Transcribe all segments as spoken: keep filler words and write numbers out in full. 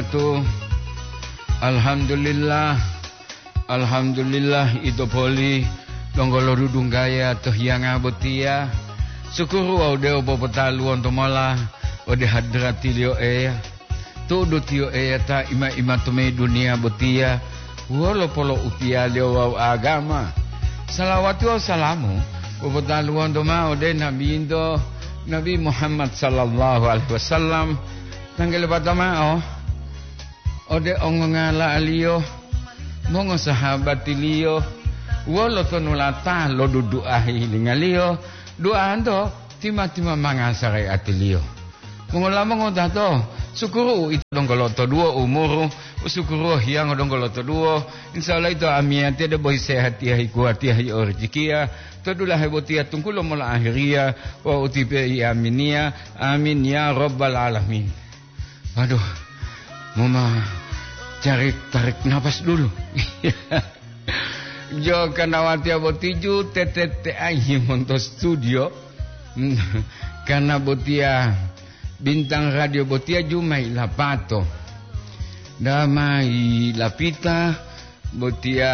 Tu, alhamdulillah, alhamdulillah, ito poli donggo lodudunggaya to hiyanga botiya. Sukuru wawu de'u popotaluwonto mola ode hadratiliyo Eya. Tu'udu tiyo Eya ta ima-ima to mayi duniya botiya wolo polo'utiyaliyo wawu agama. Salawati wawu salamu popotaluwonto ma'o ode Nabinto, Nabi Muhammad sallallahu alaihi wasallam. Tanggele pata ma'o ode ongongala'aliyo, mongosahabatiliyo, wolo tonulata lodudu'a hihilinga-Liyo, du'anto tima-tima manga sare'atiliyo. Mongola mongotato, sukuru ito donggo lotoduwo umuru, sukuru hiyango donggo lotoduwo, insya Allah ito amiyatiya debo hisehatiya hikuwatiya hiyo rijikiya, to dulahe botiya tunggulo mola ahiriya, wawu utipe i aminiya, amin ya rabbal alamin. Waduh, moma cari tarik napas dulu. Jo, karena watiya boti ju tetete ahi monto studio. Karena botiya bintang radio botiya ju mai lapato. Da mai lapita botiya,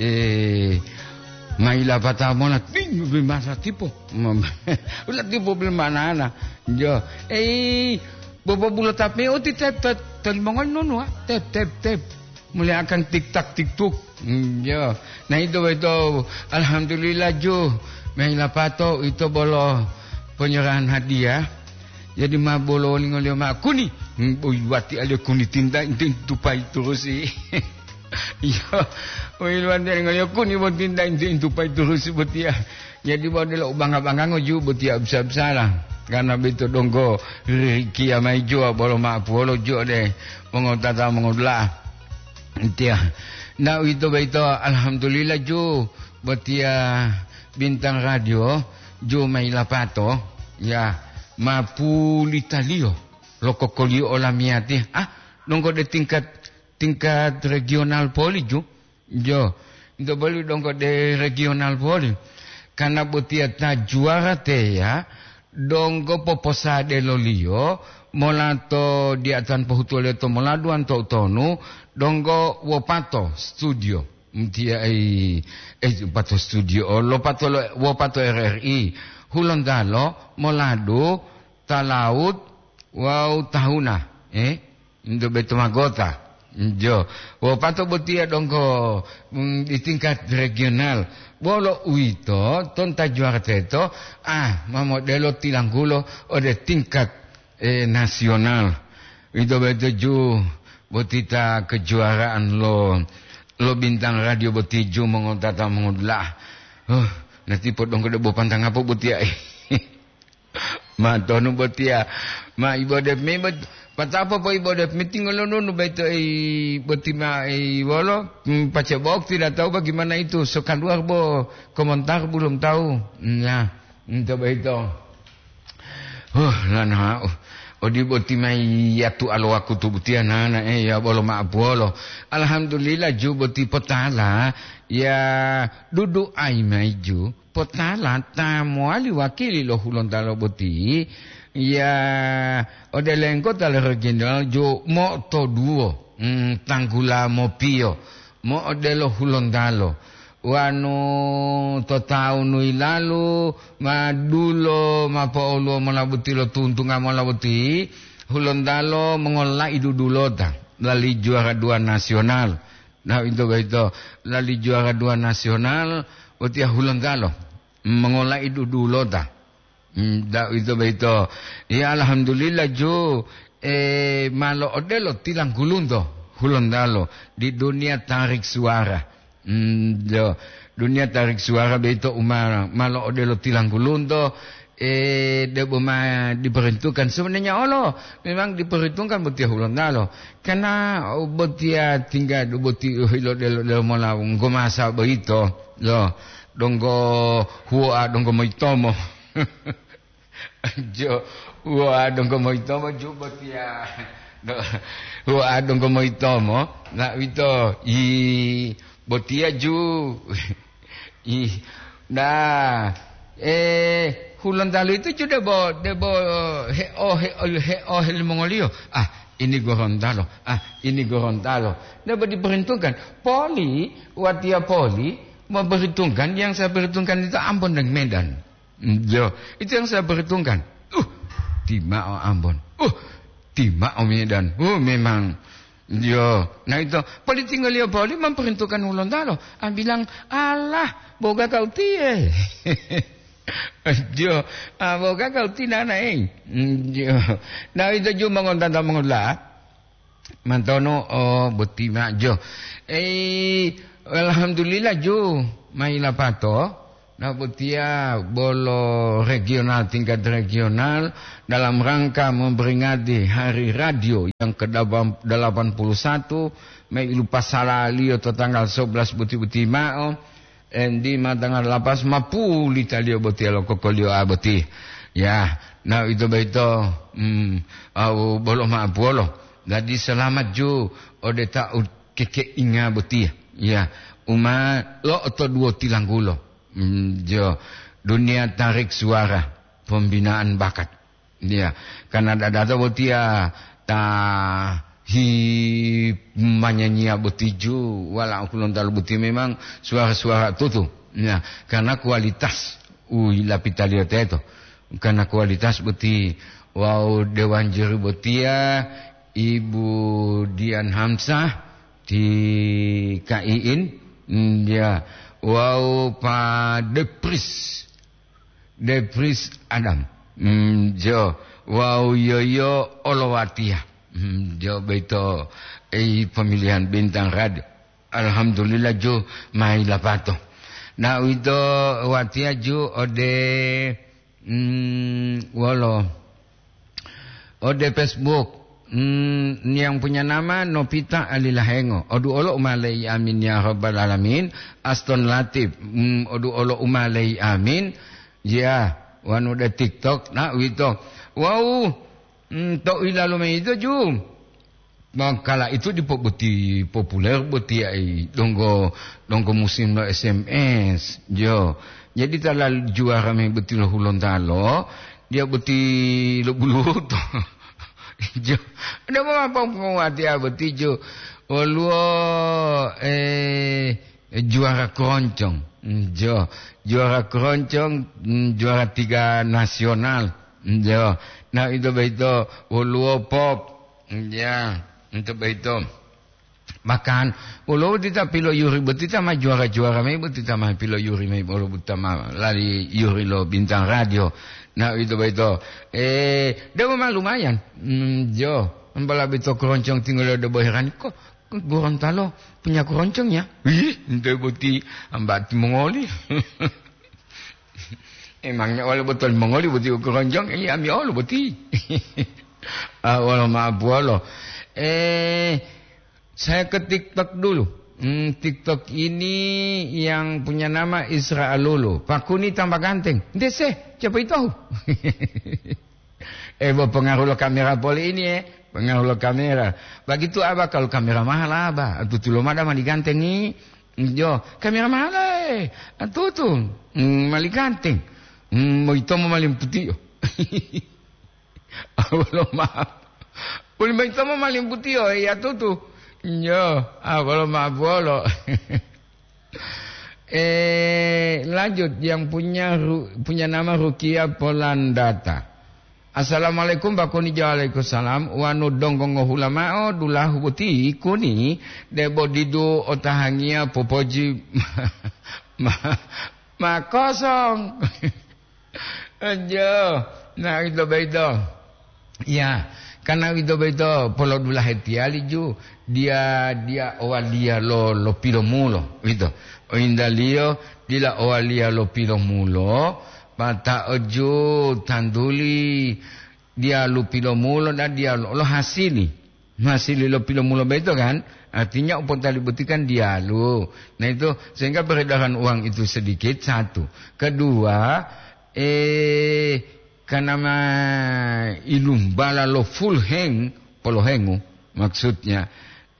eh, mai lapata mona ting bi masa tipo. Ula tipo bil manana. Jo, eh, bobo bulo tapi uti tep tep tep mongol nunu, ah. Tep tep tep. Mulia akan tik tak tik tuk. Hmm, ya. Nah, itu, itu, alhamdulillah ju. Mei lapato itu bolo penyerahan hadiah. Jadi ma bolo lingoliyo ma kuni. Hmm, boi wati aliyo kuni tinta inti tupai turusi. Iya. Boi wati lingoliyo kuni bo tinta inti tupai turusi botiya. Jadi bo delo ubangga-banggango ju botiya bisa-bisala. Karena bito donggo rikiya mai juwa bolo ma puwolo ju de. Mongotata mongodula'a. Tiya. Na uwito boyito, alhamdulillah, ju botiya bintang radio, ju ma yilapato, ya, ma pulitaliyo lo kokoliyo olamiyatiya. Ah, donggo de tingkat, tingkat regional poli, ju. Jo, ito boli donggo de regional poli. Karena botiya ta juwara teya, donggo poposadeloliyo mola to diatan pohutuwaliyo to moladuwan to utonu, donggo wopato studio. Mtiya ei, eh, wopato studio, oh, lopato lo, wopato R R I. Hulontalo, moladu, talaut, wawu tahuna, eh? Ndo beto magota. Jo. Wopato botiya donggo, mm, di tingkat regional. Bolo uwito, tonta juwara teto, ah, ma modelo tilanggulo ode tingkat, eh, nasional. Uwito boyito ju boti ta kejuaraan lo, lo bintang radio boti ju mongotata mongodula'a. Oh, natipo donggo debo pantangapo botiya. Ma tonu botiya, ma ibodep me bot-, patapa po ibodep me tingolonunu baito ei boti ma ei wolo, hmm, pace bok tidak tahu bagaimana itu, so keluar bo komentar belum tahu. Nah, ento baito. Huh, lana, uh, odi boti mai yatu alo wakutu butiya nana, eh, ya bolo ma apuolo. Alhamdulillah ju boti potala, ya dudu ai mai ju. Potala ta mowali wakili lo Hulontalo boti, ya, ode lengkota lo regional jo mo'otoduwo, mm, tanggula mopiyo, mo'odelo Hulontalo. Wanu to tawunu yilalu, ma dulo, ma po'oluwo mola boti lo tuntunga mola boti, Hulontalo mongola'i dudulota, lali juara dua nasional. Nah, ito boyito lali juara dua nasional, botiya Hulontalo mongola'i dudulota. Hmm, da-, ito boyito. Ya, alhamdulillah, ju, eh, ma lo'odelo tilanggulunto Hulontalo di dunia tarik suara. Hmm, jo, dunia tarik suara boyito u ma, ma lo'odelo tilanggulunto, eh, debo ma diperhitungkan. Sebenarnya olo, memang diperhitungkan botiya Hulontalo. Karena botiya tingga boti, uh, ilodelo-delo mola nggo masa boyito, lo, donggo huwoa, donggo moyitomo. Jo, huwoa donggo moyitomo ju botiya. Do-, huwoa donggo moyitomo, na uwito, i, botiya ju. Ih, nah, eh, Hulontalo itu ju debo, debo he'o, he'o, he'o helimongoliyo. Ah, Ini Gorontalo, ah, ini Gorontalo. Ndak diperhitungkan. Poli, watiya Poli, memperhitungkan, yang saya perhitungkan itu Ambon dan Medan. Mm, yo, itu yang saya perhitungkan. Uh, timao Ambon. Uh, timao Medan. Uh, memang. Yo, nah itu, Poli tinggal dia Poli memperhitungkan Gorontalo. Ah, bilang, "Alah, boga kau tie." Jo, ah, boga kau tinana, eh. Mm, jo. Nah, itu ju mongontanta mongola. Mantono, oh, boti ma jo. Eh, alhamdulillah ju, mai lapato. Nah, botiya bolo regional, tingkat regional dalam rangka memperingati Hari Radio yang ke delapan puluh satu, mai lupasalaliyo to tanggal sebelas boti-boti mao. Endi ma tanggal lapas ma pulitaliyo botiya lo kokoliyo a boti. Ya, na ito boyito, mm, au bolo ma apuwolo. Jadi selamat ju ode ta u kekeinga botiya. Ya, uma lo'otoduwo tilanggulo. Mm, jo, dunia tarik suara, pembinaan bakat. Iya, karena dadato botiya ta hi manyanyiya boti ju, wala u Gorontalo boti memang suara-suara tutu. Ya, karena kualitas u lapitaliyo teto. Karena kualitas boti wawu dewan juri botiya Ibu Dian Hamsah ti K I in, mm, ya, wawu Pa Depris. Depris Adam. Mm, jo, wawu yoyo olo watiya. Mm, jo, boyito, eh, pemilihan bintang radio. Alhamdulillah, ju, mai lapato. Na uwito watiya ju ode, mm, wolo, ode Facebook. Mm, yang punya nama Novita Alilahengo. Odu olo umalei amin ya rabbal alamin. Aston Latif. Mm, odu olo umalei amin. Ya, wanu de TikTok, na uwito. Wau, mm, to ilalu mayi ito ju. Mangkala itu dipo boti populer boti ai donggo, donggo musim lo S M S. Jo. Jadi tala juara mayi boti lo Hulontalo, dia boti lo buluto. Jo. Ada apa penguat ya boti jo. Oluo, eh, juara keroncong. Mm, jo, juara keroncong, mm, juara tiga nasional. Mm, jo. Nah, ito boyito woluwo pop. Mm, ya, ito boyito. Bahkan, woluwo boti ta piloyuri boti ta ma juara-juara mayi boti ta ma piloyuri mayi woluwo boti ta ma lali yuri lo bintang radio. Nah, ito boyito. Eh, dewa ma lumayan. Mm, jo. Ambala bito keroncong tinggal ada boheran kok. Gorontalo punya keroncong ya? Ih, ente boti ambati mongoli. Emangnya oleh betul mongoli boti keroncong? Iya, ami olo boti. Ah, wala maaf wala. Eh, saya ke TikTok dulu. Hmm, TikTok ini yang punya nama Isra Alulu. Pakuni tambah ganteng. Dese, coba itu. Eh, bo, pengaruh lo kamera poli ini, eh. Pengaruh lo kamera. Begitu aba kalau kamera mahal aba. Tutu lo mada mali ganteng ni. Jo, kamera mahal, eh. Tutu. Hmm, mali ganteng. Hmm, mo ito mo mali putih, yo. Abolo maaf. Poli mo ito mo mali putih, yo. Iya, tutu. Jo, abolo maaf, bolo. Eh, lanjut, yang punya ru-, punya nama Rukia Polandata. Assalamualaikum, Bakuni. Waalaikumsalam. Wanu donggo ngohula mao dulahu boti kuni, debo didu otahangiya popoji ma, ma, ma kosong. Ajo, na uwito boyito. Ya, karena uwito boyito polodulahe tiyali ju, dia, dia owaliya lo, lo pilomulo, uwito. Oyintaliyo dila owaliya lo pilomulo, pata'o ju tantuli diyalu pilomulo dan diyalu lo hasili. Masih lilo pilomulo beto kan? Artinya u potali boti kan diyalu. Nah itu, sehingga peredaran uang itu sedikit, satu. Kedua, eh, karena ma ilumbala lo full heng, polohengu maksudnya.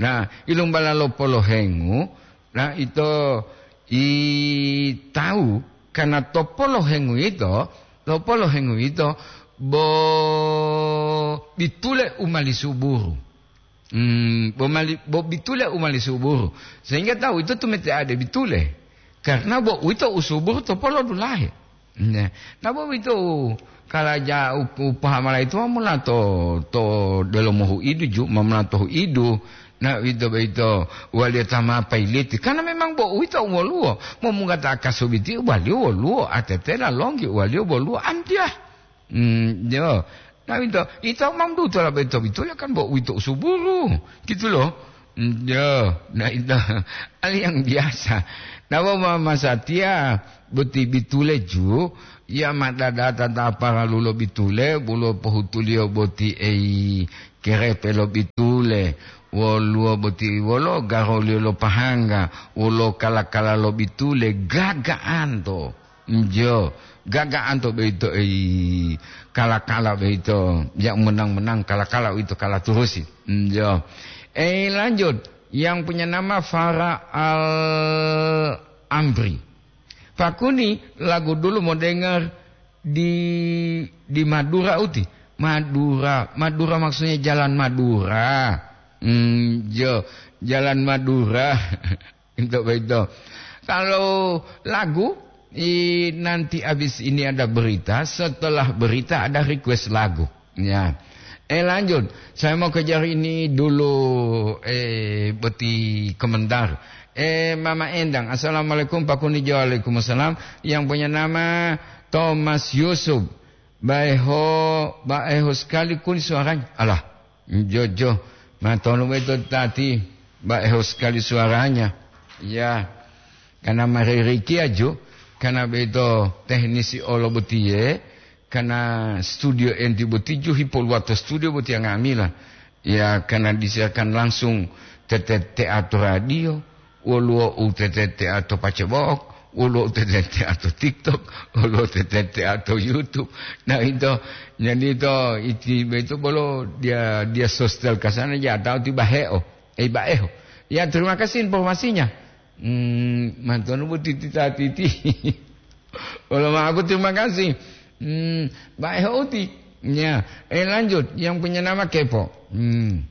Nah, ilumbala lo polohengu, nah ito i tahu karena to polohengu ito, to polohengu ito bo bitule u mali suburu. Hmm, bo mali, bo bitule u mali suburu. Sehingga tawu ito tumete'ade bitule. Karena bo uwito u suburu to polo dulahe. Ne. Na bo uwito u kalaja u, u pahamala ito ma mula to, to delomo huidu ju, ma mula to huidu. Na uwito boyito waliyo ta ma payiliti. Karena memang bo uwito u woluwo. Momungata akasubiti waliyo woluwo. Atetela longgi waliyo woluwo. Antiya. Hmm, yo. Na uwito, ito ma dutola boyito bitule kan bo uwito u suburu. Gitu loh. Hmm, yo. Na ito, hal yang biasa. Na bo ma masatiya boti bitule ju, ya ma dadata ta paralu lo bitule, wolo pohutuliyo boti ei kerepe lo bitule, woluwo boti wolo garoliyo lo pahangga, wolo kala-kala lo bitule, gaga'anto. Njo, gaga'anto boyito ei kala-kala boyito, ya menang-menang kala-kala uwito kala turusi. Njo. Eh, lanjut, yang punya nama Farah Al Amri. Pakuni lagu dulu mau dengar di, di Madura uti. Madura, Madura maksudnya jalan Madura. Hmm, jo, jalan Madura. Untuk begitu. Kalau lagu, i, nanti habis ini ada berita, setelah berita ada request lagu. Ya. Eh, lanjut, saya mau kejar ini dulu, eh, boti komentar. Eh, Mama Endang, assalamualaikum, Pak Kunijo. Waalaikumsalam. Yang punya nama Thomas Yusuf. Baeho, baeho sekali kuni suaranya. Alah, jojo. Matonu beto tati, baeho sekali suaranya. Ya, karena maririkiya ju, karena beto teknisi olo botiye, karena studio enti boti ju hipoluwato studio boti nga'amila. Ya, karena disiarkan langsung tete teatro radio, woluwo u tete teatro pacebok, woluwo u tete teatro TikTok, woluwo u tete teatro YouTube. Nah, itu, jadi itu, iti, itu bolo dia, dia sosial kasana, ya tahu tiba heo, eh, baeho. Ya, terima kasih informasinya. Hmm, mantonu bu titi tatiti. Kalau mau aku terima kasih. Hmm, baik hoti. Ya, eh, lanjut. Yang punya nama Kepo. Hmm.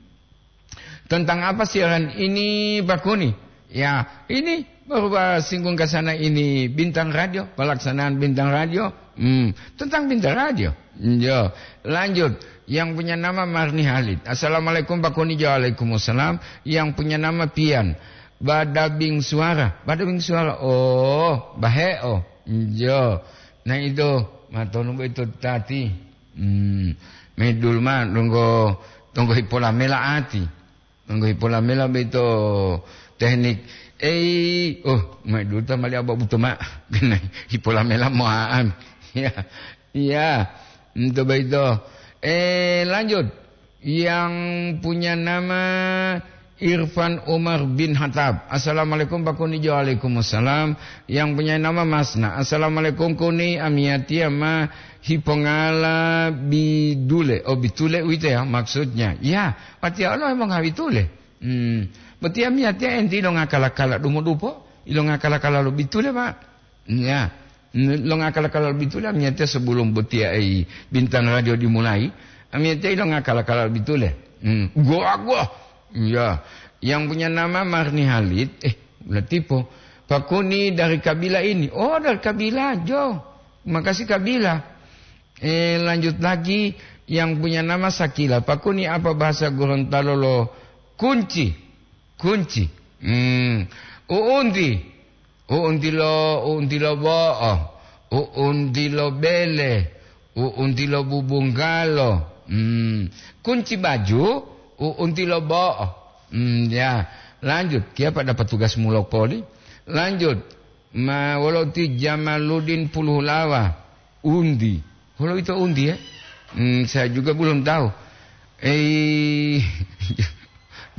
Tentang apa siaran ini, Pak Kuni? Ya, ini baru singgung ke sana ini Bintang Radio, pelaksanaan Bintang Radio. Hmm, tentang Bintang Radio. Hmm, yo, lanjut. Yang punya nama Marni Halid. Assalamualaikum, Pak Kuni. Waalaikumsalam. Yang punya nama Pian. Badabing suara, badabing suara. Oh, baheo. Njo. Nah itu, matonu boyito tati. Hmm, medul ma donggo, donggo hipolamela ati. Donggo hipolamela boyito teknik. Ei, oh, medul ta mali aba buto ma. Hipolamela moaan. Ya. Iya. Nto boyito. Eh, lanjut. Yang punya nama Irfan Umar bin Hattab. Assalamualaikum, Pak Kuni. Waalaikumsalam. Yang punya nama Masna. Assalamualaikum, Kuni. Amiyatiya ma hipongala bidule. Oh, bitule uwito ya maksudnya. Ya, watiya olo hemongabitule. Hmm. Botiya amiyatiya enti ilongakala-kala dumudupo, ilongakala-kala lo bitule, Pak. Ya. N-, longa kala-kala bitula amiyatiya sebelum botiya ei Bintang Radio dimulai, amiyatiya longa kala-kala bitule. Hmm, goa, goa. Ya, yang punya nama Marni Halid, eh, Latipo. Pak Kuni dari Kabila ini. Oh, dari Kabila, Jo. Makasih Kabila. Eh, lanjut lagi, yang punya nama Sakila. Pak Kuni, apa bahasa Gorontalo lo kunci? Kunci. Hmm. Uunti. Uunti lo, uunti lo bo'o, uunti lo bele, uunti lo bubunggalo. Hmm. Kunci baju, uunti lo bo'o. Hmm, ya. Lanjut, kiya pa dapat tugas mulopoli. Lanjut, ma wolo ti Jamaludin Puluhulawa. Undi. Kalau itu undi ya? Hmm, saya juga belum tahu. Eh,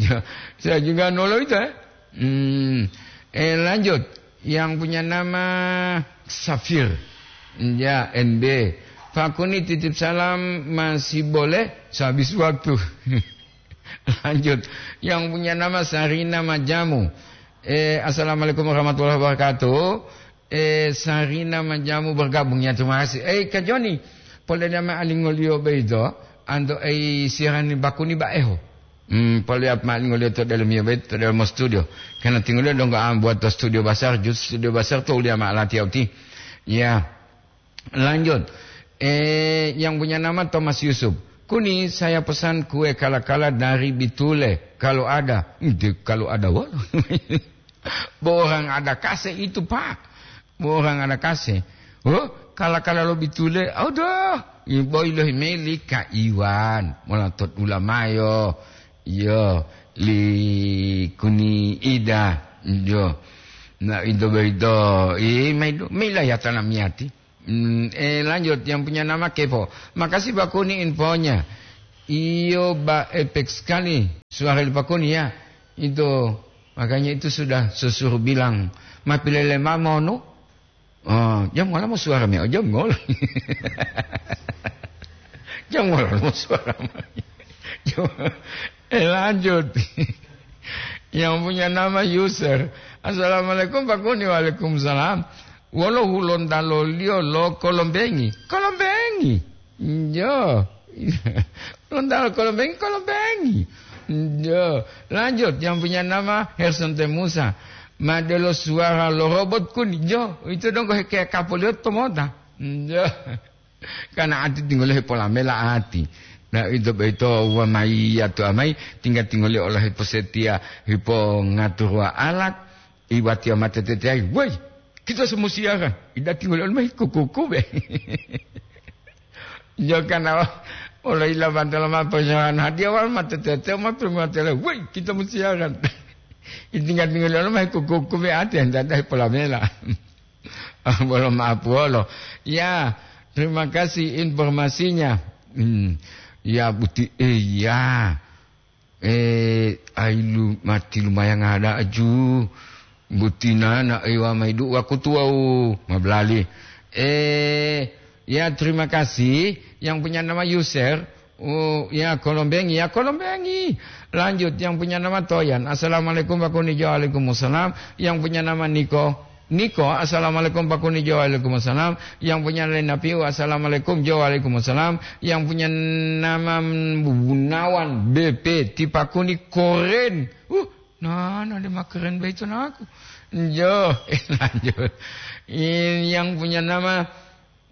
ya, saya juga nolo itu ya. Hmm, eh, lanjut. Yang punya nama Safir. Ya, N B. Pak Kuni titip salam masih boleh? Sehabis waktu. Lanjut. Yang punya nama Sarina Majamu. Eh, assalamualaikum warahmatullahi wabarakatuh. Eh, Sarina Majamu bergabung ya, terima kasih. Eh, Kak Joni, polele ma alingoliyo beito, anto ei siaran Pak Kuni baeho. Hmm, palihat ma'o lingoliyo to delomiyo boyito, to delomo studio. Karena tingoliyo donggo ambuwa to studio basar, jus studio basar to uliya ma'o latiya uti. Ya, lanjut. Eh, yang punya nama Thomas Yusuf. Kuni, saya pesan kue kala-kala dari Bitule, kalau ada. Ente, kalau ada wolo. Bo orang ada kase itu, Pak. Bo orang ada kase. Oh, kala-kala lo Bitule. Aduh, boyilo himeli ka Iwan. Mola tot ulamayo. Iyo, li Kuni Ida. Iyo. Na ito boyito. Eh, maido, mailayatana miyati. Hmm, eh, lanjut, yang punya nama Kepo. Makasih, Pak Kuni, infonya. Iyo, Pak, epek sekali suara li Pak Kuni, ya. Itu, makanya itu sudah sesuruh bilang, "Ma pilele mama, no?" Oh, jam ngola mo suara me, oh, jam ngola. Jam ngola mo suara me. Jam-, eh, lanjut. Yang punya nama user. "Assalamualaikum, Pak Kuni." "Waalaikumsalam." "Wolo Hulontalo-Liyo lo Kolombengi?" "Kolombengi." "Iyo." "Hulontalo Kolombengi?" "Kolombengi." "Iyo." Lanjut, yang punya nama Herson Temusa. "Ma delo suara lo robot, Kuni?" "Iyo, itu donggo heke kapoliyo to mota." "Iyo." Karena ati tinggal hepolamela ati. Na ito boyito wa mayi atu amai, tinggal-tinggal ola hiposetia, hipongaturua alat, iwatiya mate teteyayi, "Woi, kita semua siaran." Ida tinggal ola mayi kuku-kuku be. Yo karena ola ila bantu lama persoalan hadiah wal mate tete ma permatele, "Woi, kita mau siaran." Tinggal-tinggal ola mayi kuku-kuku be ati anda dah polamela. Bolo maaf wolo. Ya, terima kasih informasinya. Hmm, ya, buti, eh, ya. Eh, ailu mati lumayan ada aju. Buti nana, eh, wa maidu wakutu wau mablali. Eh, ya, terima kasih. Yang punya nama user, oh, ya, Kolombengi, ya, Kolombengi. Lanjut, yang punya nama Toyan. "Assalamualaikum, Pak Kuni." "Waalaikumsalam." Yang punya nama Niko. Niko, "Assalamualaikum, Pak Kuni." "Waalaikumsalam." Yang punya Lena Piu, "Assalamualaikum." "Waalaikumsalam." Yang punya nama Gunawan B P, "Ti Pak Kuni koren." Uh, nah, nah, dia mah keren begitu, nah, aku. Jo, lanjut. Ini yang punya nama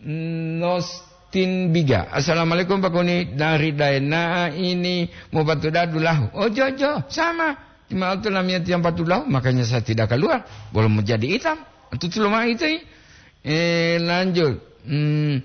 Nostin Biga. "Assalamualaikum, Pak Kuni. Dari Daena ini mau patuda dulahu." "Oh, jo, jo, sama. Cuma itu namanya tiang patuda, makanya saya tidak keluar. Belum menjadi hitam. Itu cuma itu." Eh, lanjut. Hmm,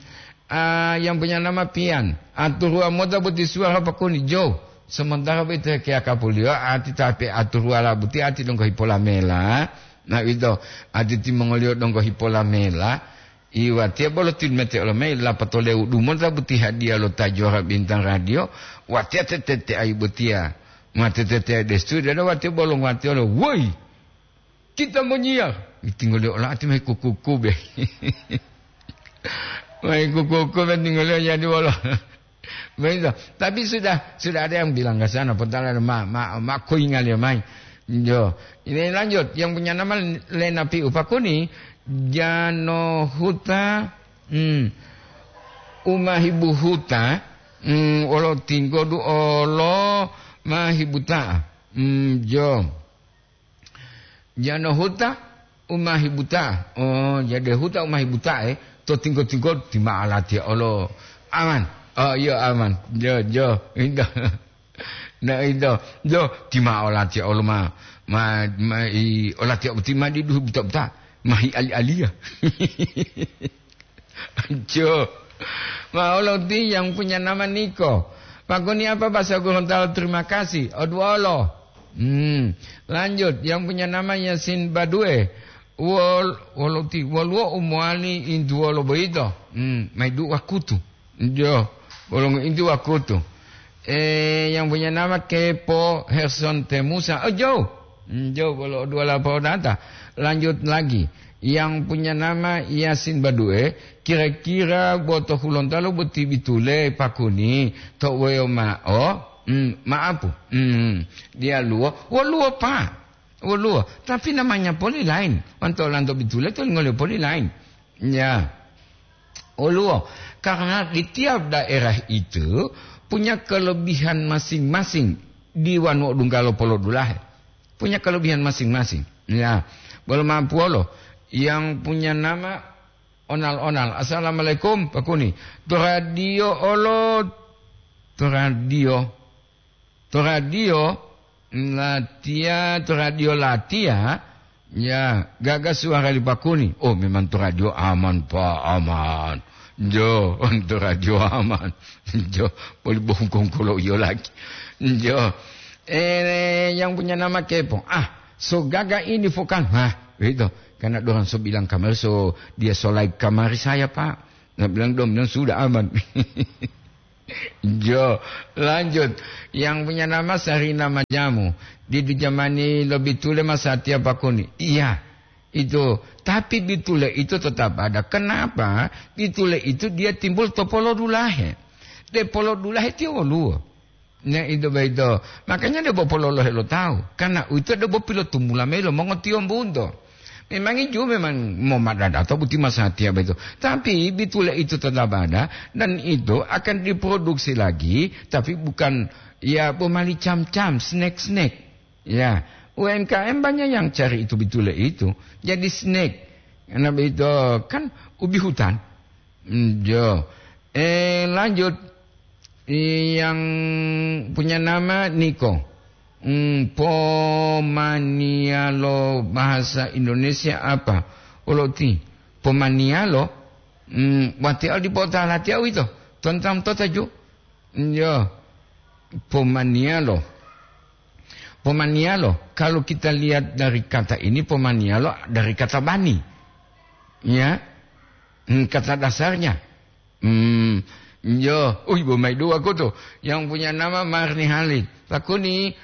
ah, yang punya nama Pian. "Aturua mota boti suara, Pak Kuni." Jo, sementara boti kia kapuliwa, ati tapi aturua labuti ati donggo hipolamela. Nah, itu. Ati timongoliyo donggo hipolamela. Iwatiya bolo tilmete olomei lapatole udumota boti hadiya lo ta juara bintang radio, watiya tetete ayi botiya. Ma tetete ayi destu dada watiya bolo watiya lo, "Woi, kita menyiar." Tinggal dia ola ati mai kuku-kuku be. Mai kuku-kuku be tinggal dia jadi wolo. Begitu. Tapi sudah, sudah ada yang bilang ke sana, potala ma, ma, ma koingal ya mai. Jo. Ini lanjut, yang punya nama Lena Piu Pakuni, Jano Huta, hmm, Umahibu Huta, hmm, olo tinggodu olo Mahibuta. Hmm, jo. Jano huta umahibuta. Oh, jadi huta umahibuta, eh. To tingko-tingko ti ma alatiya olo. Aman. Oh, iya, aman. Jo, jo. Ito. Nah, ito. Jo, ti ma olatiya olo ma, ma, ma, i, olatiya uti ma di duhu buta-buta. Mahi ali-aliya. Jo. Ma olo ti yang punya nama Niko. Pakuni apa bahasa Gorontalo terima kasih? Oduolo. Hmm. Lanjut, yang punya nama Yasin Badue. Wol, wolo ti, woluwo umowali intuwolo boyito. Hmm, mai du'a kutu. Jo, bolongo inti wakutu. Eh, yang punya nama Kepo Herson Temusa. Oh, jo. Hmm, jo, bolo dua lapau data. Lanjut lagi. Yang punya nama Yasin Badue, kira-kira boto Hulontalo boti bitule Pakuni to woyo ma'o? Hmm, ma'apu. Hmm, dia luo. Woluwo, Pak. Woluwo. Tapi namanya poli lain. Wanto lanto bitule to ngoliyo poli lain. Ya. Oluwo, karena di tiap daerah itu punya kelebihan masing-masing. diwa nu odunggalo polodulahe. Punya kelebihan masing-masing. Ya, bolo mampuolo yang punya nama Onal-onal. "Assalamualaikum, Pak Kuni." To radio olo, to radio. To radio latiya, to radio latiya, ya, gaga suara li Pak Kuni. Oh, memang to radio aman, Pak, aman. Jo, to radio aman. Jo, boli bongkong kolo iyo lagi. Jo. Eh, yang punya nama Kepo. "Ah, so gaga ini vokal." Hah, itu. Karena dorang so bilang kamari, so dia so like kamari saya, Pak. Saya bilang, "Dong, bilang sudah aman." Jo, lanjut. Yang punya nama Sarina Majamu. "Di, di jamani lo bitule masatiya Pak Kuni." Iya, itu. Tapi bitule itu tetap ada. Kenapa? Bitule itu dia timbul to polodulahe. De polodulahe tiyo woluwo. Nah, itu boyito. Makanya debo pololohe lo tawu. Karena uwito debo pilotumula mayi lo mongotiyombunto. Memangi ju memang momadadato buti masatiya boyito. Tapi bitule itu tetap ada dan itu akan diproduksi lagi, tapi bukan, ya, bomali cam-cam, snack-snack. Ya, U M K M banyak yang cari itu bitule itu. Jadi snack. Karena begitu kan ubi hutan. Hmm, jo. Eh, lanjut. Yang punya nama Niko. Hmm, pomanialo bahasa Indonesia apa? Olo ti. Pomanialo. Hmm, wati al di pota latiya wito. Tentang tota ju. Jo. Pomanialo. Pomanialo, kalau kita lihat dari kata ini, pomanialo dari kata bani. Ya. Hmm, kata dasarnya. Hmm, yo, uy, bo mai dua kutu. Yang punya nama Marni Halid. Pakuni,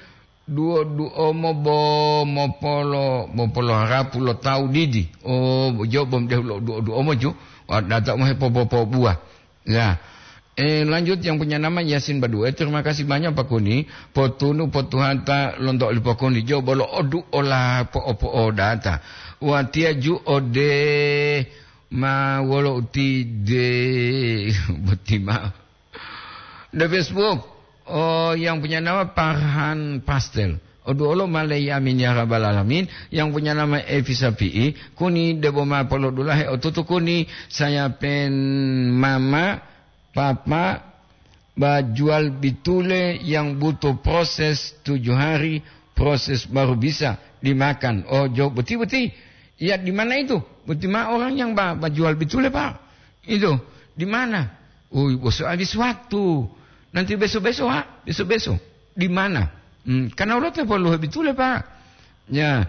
duo-duomo bo mopolo, mopolo harapu lo tawu didi. Oh, jo bom deh lo duo-duomo ju. Wah, data mo hepopopo buah. Ya. Eh, lanjut yang punya nama Yasin Badue. Terima kasih banyak Pak Kuni. Potunu potuhata lonto oli Pak Kuni. Jo bolo odu ola po-, opo odata. Watiya ju ode ma wolo utide. Boti ma. The Facebook. Oh, yang punya nama Parhan Pastel. Odu olo malei amin ya rabbal alamin. Yang punya nama Evi Sapi'i. Kuni debo ma polodulahe otutu kuni. Saya pen mama, papa, ba jual bitule yang butuh proses tujuh hari, proses baru bisa dimakan. Oh, jo, beti, beti. Ya, di mana itu? Beti ma orang yang ba, ba jual bitule, Pak. Itu, di mana? Oh, bos habis waktu. Nanti besok-besok, ha? Besok-besok. Di mana? Hmm, karena ulo te perlu bitule, Pak. Ya,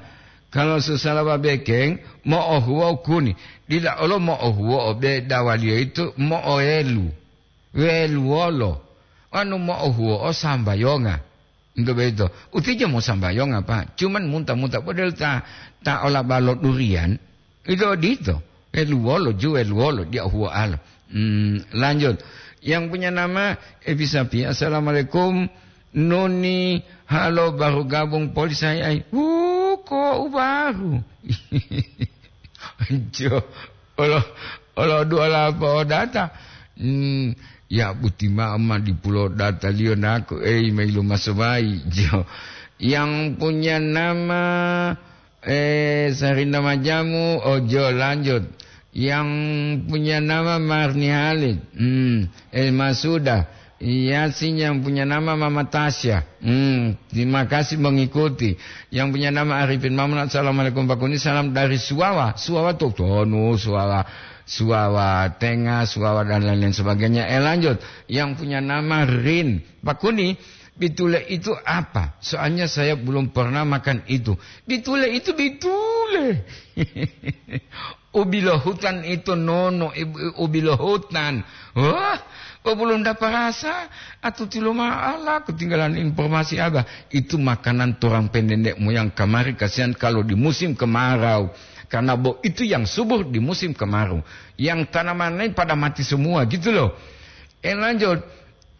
kalau susah laba bekeng, mo'ohuwo kuni. Dila olo mo'ohuwo obe dawaliyo itu mo'oelu. Weluwolo. Anu mo'ohuwo'o sambayonga. Nto boyito. Utijo mosambayonga, Pak. Cuman munta-munta model ta, ta ola balo durian. Ito odito. Weluwolo, ju weluwolo, dia huwo'alo. Hmm, lanjut. Yang punya nama Evi Sapi. "Assalamualaikum. Nuni, halo, baru gabung poli saya ai." Wuko, u baru. Jo. Olo, olo dua lapo data. Hmm, ya buti mama di pulau data liyo naku, ei, mailu masomai. Jo. Yang punya nama, eh, Sarina Majamu, ojo lanjut. Yang punya nama Marni Halid. Hmm, Elma sudah. Yasin yang punya nama Mama Tasya. Hmm, terima kasih mengikuti. Yang punya nama Arifin Mamun, "Assalamualaikum Pak Kuni, salam dari Suwawa." Suwawa Totonu, Suwawa, Suwawa Tengah, Suwawa dan lain-lain sebagainya. Eh, lanjut. Yang punya nama Rin. "Pak Kuni, bitule itu apa? Soalnya saya belum pernah makan itu." Bitule itu bitule. Ubilohutan itu nono, ib-, ubilohutan. Wah, kok belum dapat rasa? Atau tilo maala ketinggalan informasi Abah. Itu makanan turang pendendek moyang kamari, kasihan kalau di musim kemarau. Karena bo itu yang subur di musim kemarau. Yang tanaman lain pada mati semua gitu loh. Eh, lanjut.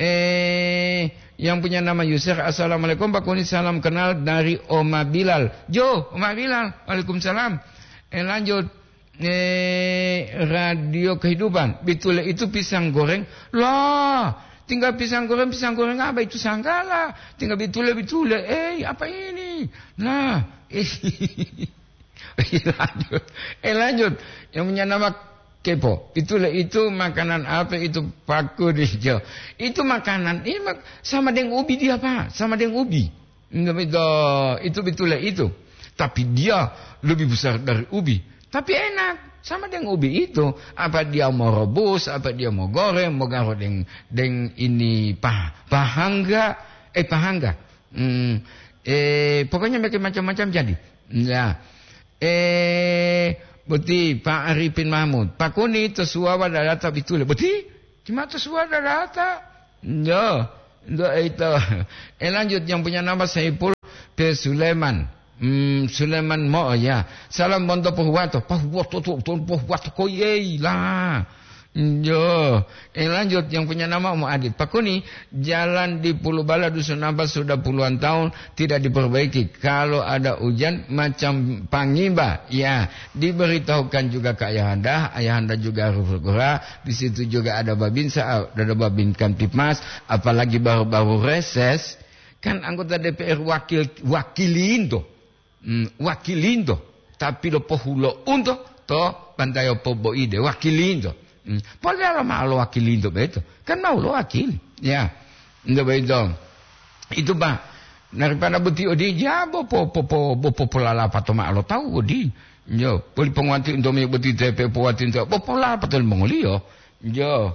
Eh, yang punya nama Yusuf, "Assalamualaikum Pak Kuni, salam kenal dari Oma Bilal." Jo, Oma Bilal, waalaikumsalam. Eh, lanjut. Eh, Radio Kehidupan, bitule itu pisang goreng. Lah, Tinggal pisang goreng, pisang goreng apa itu sanggala. Tinggal bitule, bitule. Eh, apa ini? Nah, eh, lanjut. Eh, lanjut. Yang punya nama kepo. Itulah itu makanan apa itu, Pak Kudijo? Itu makanan, ini mak-, sama dengan ubi dia, Pak. Sama dengan ubi. Itu, itu, itu bitule itu. Tapi dia lebih besar dari ubi. Tapi enak. Sama dengan ubi itu. Apa dia mau rebus, apa dia mau goreng, mau garo deng, deng ini pah-, pahangga. Eh, pahangga. Hmm, eh, pokoknya bikin macam-macam jadi. Ya. Eh, boti Pak Arifin Mahmud. Pak Kuni, to suwawa dalata bitule. Boti? Cuma to suwawa dalata. Yo, ndo itu. Eh, lanjut, yang punya nama Saipul pe Sulaiman. Hmm, Sulaiman mo ya. Salam bonto pohuwato. Pohuwato, to, to, pohuwato koyei lah. Yo, eh, lanjut, yang punya nama Umu Adit. Pak Kuni, jalan di Pulubala Dusun Ampel sudah puluhan tahun tidak diperbaiki. Kalau ada hujan, macam pangimba. Ya, diberitahukan juga ke Ayahanda. Ayahanda juga harus segera. Di situ juga ada Babinsa, ada Babin Kamtibmas. Apalagi baru-baru reses, kan anggota D P R wakil, wakilindo. Hmm, wakilinto, tapi lo pohulo'unto to bantayo poboide, wakilinto. Hmm, polelalo mao lo wakilinto beto, kan mau lo wakili. Ya, nto beto. Itu, Pak, daripada boti odi, ya, bo po-, po-, po-, bo popolalapato mao lo tawu odi. Yo, poli ponguwati unto me boti tepe powati unto, bo polalapato limongoliyo. Yo.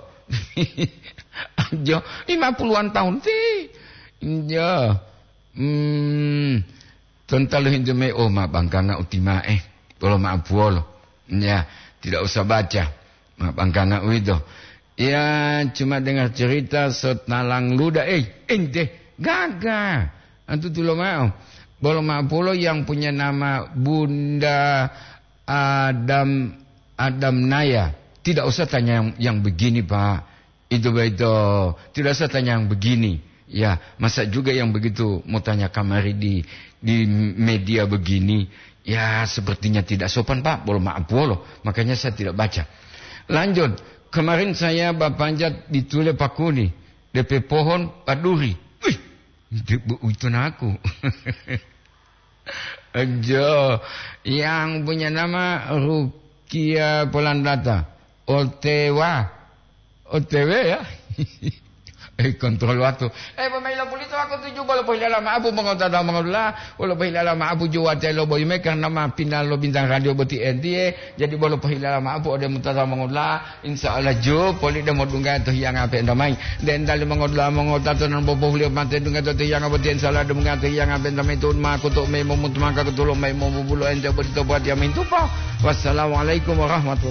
Yo, lima puluhan tahun ti. Yo. Hmm. Tonta lohintu mayi, "Oh, ma bangkanga utima'e, bolo ma'apuwolo." Ya, tidak usah baca. Ma bangkanga uwito. Ya, cuma dengar cerita sotalang luda. Eh, ente, gaga. Antu tulo ma'o. Bolo ma'apuwolo yang punya nama Bunda Adam, Adam Naya. Tidak usah tanya yang, yang begini, Pak. Itu baito, tidak usah tanya yang begini. Ya, masa juga yang begitu mau tanya kamari di, di media begini? Ya, sepertinya tidak sopan, Pak. Bolo maaf, bolo. Makanya saya tidak baca. Lanjut, kemarin saya bapanjat di Tule Pakuni, D P pohon paduri. Wih, itu, itu naku. Jo, yang punya nama Rukia Polandata. O T W. O T W ya? Eh, kontrol waktu. Eh, pemain lo pulito aku tuju bolo pohilala ma'apu mongotata mongodula. Bolo pohilala ma'apu juwate lo boyime karena ma pinal lo bintang radio boti N T A. Jadi bolo pohilala ma'apu ode mutata mongodula. Insya Allah, ju, poli de modungga to hiyanga penta mai. Den dali mongodula mongotato non bobohuliyo mate dungga to hiyanga boti, insya Allah, dungga to hiyanga penta mai tu'un ma kutu me momutu maka kutulo mai momubulo ente boti to buat yamin tupo. Wassalamualaikum warahmatullahi